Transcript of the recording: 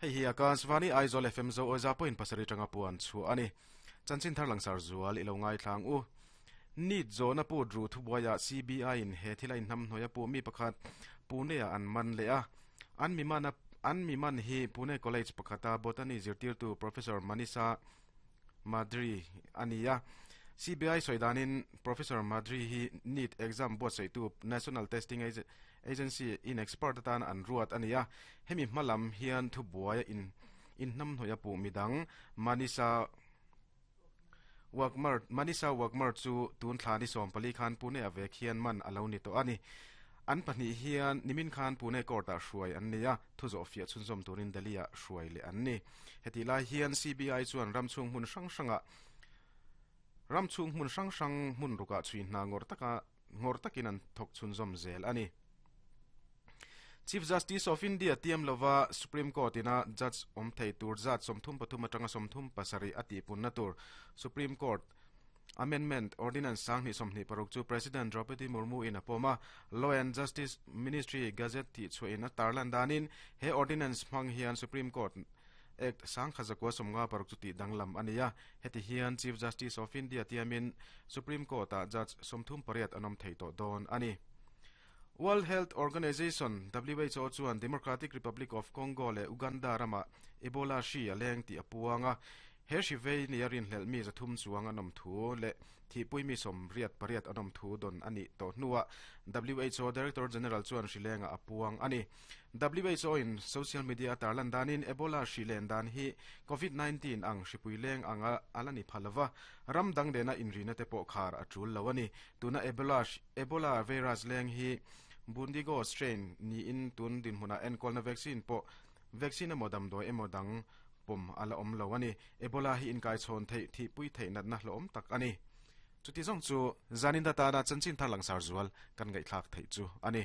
Hei hi Akashvani Aizawl FM Zo Awi za point pasarih tanga puan chhuah a ni. Chanchin thar langsar zual i lo ngaithlang u. Neet zawhna put ru thubuaiah CBI in he thila inhnamhnuai a puh mi pakhat Pune ah an man leh a. An mi man a an mi man hi Pune College pakhata Botany zirtirtu Professor Manisha Madri a ni a. CBI sawi danin Professor Madri hi NEET exam buatsaihtu National Testing Agency in expert atan an ruat a ni a. Hemi hma lam hian thubuaia in inhnamhnawih a puh midang Manisha Wagmar Manisha Wagmar chu tun thla ni 14 khan Pune a vek hian man a lo ni tawh a ni. An pahnih hian nimin khan Pune court ah hruai an ni a, thu zawh fiah chhunzawm turin Delhi ah hruai leh an ni. Hetih lai hian CBI chuan ram chhung hmun hrang hrangah ram chhung hmun hrang hrang hmun rukah chhui hna ngawrh taka ngawrh takin an thawk chhunzawm zel a ni. Chief Justice of India tiam lova Supreme Court ina judge awm thei tur zat 33 atanga 37 a tihpunna tur Supreme Court Amendment Ordinance 2026 chu President Draupadi Murmu in a pawm a, Law and Justice Ministry Gazette tih chhuahin a tarlan danin he ordinance hmang hian Supreme Court Act 1956 chu tih danglam a ni a, heti hian Chief Justice of India tiamin Supreme Court-ah judge 38 an awm thei tawh dawn a ni. World Health Organization, WHO, chuan Democratic Republic of Congo leh Uganda ramah Ebola hri a leng tih a puang a. He hri vei nia rinhlelh mi 300 chuang an awm thu leh thihpui mi 88 an awm thu dawn a nih tawh hnuah WHO Director General chuan hri lengah a puang a ni. WHO in social media a tarlan danin Ebola hri len dan hi Covid 19 ang hripui leng anga a la ni pha lova, ram dang nena inrina te pawh khar a tul lo a ni. Tuna Ebola Ebola virus leng hi Bundigo strain niin tun dinhmunah enkawlna vaccine pawh vaccine emaw damdawi emaw dang pawm a la awm lo a ni. Ebola hi inkaichhawn theih thihpui theih natna hlawhawm tak a ni. Chuti zawng chu zanin atana chanchin thar langsar zual kan ngaihthlak theih chu a ni.